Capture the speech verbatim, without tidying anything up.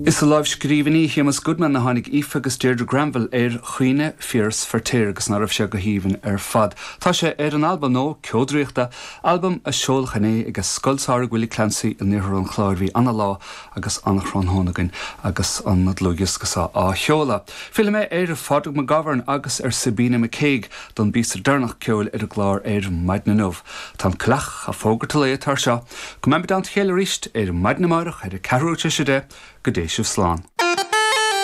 Is i lámhscríbhinní Shéamus Goodman a tháinig Aoife agus Deirdre Granville ar Chaoineadh Phiarais Feirtéar agus ná raibh sé go haoibhinn ar fad. Tá sé ar an albam nua Ceo Draíochta, albam a seoladh inné ag Scoil Samhraidh Willie Clancy in iarthar an Chláir bhí an-lá agus an-tráthnóna againn agus an dlúthdhiosca seo á sheoladh. Fillfidh mé ar Phádraig McGovern agus ar Sabina McCaig don bpíosa deireanach ceoil ar an gclár ar maidin inniu. Tá an coileach ag fógairt an lae atá seo, go mbeimid i dteannta a chéile arís ar maidin amárach ar a ceathrú tar éis a deich go dté sibh slán.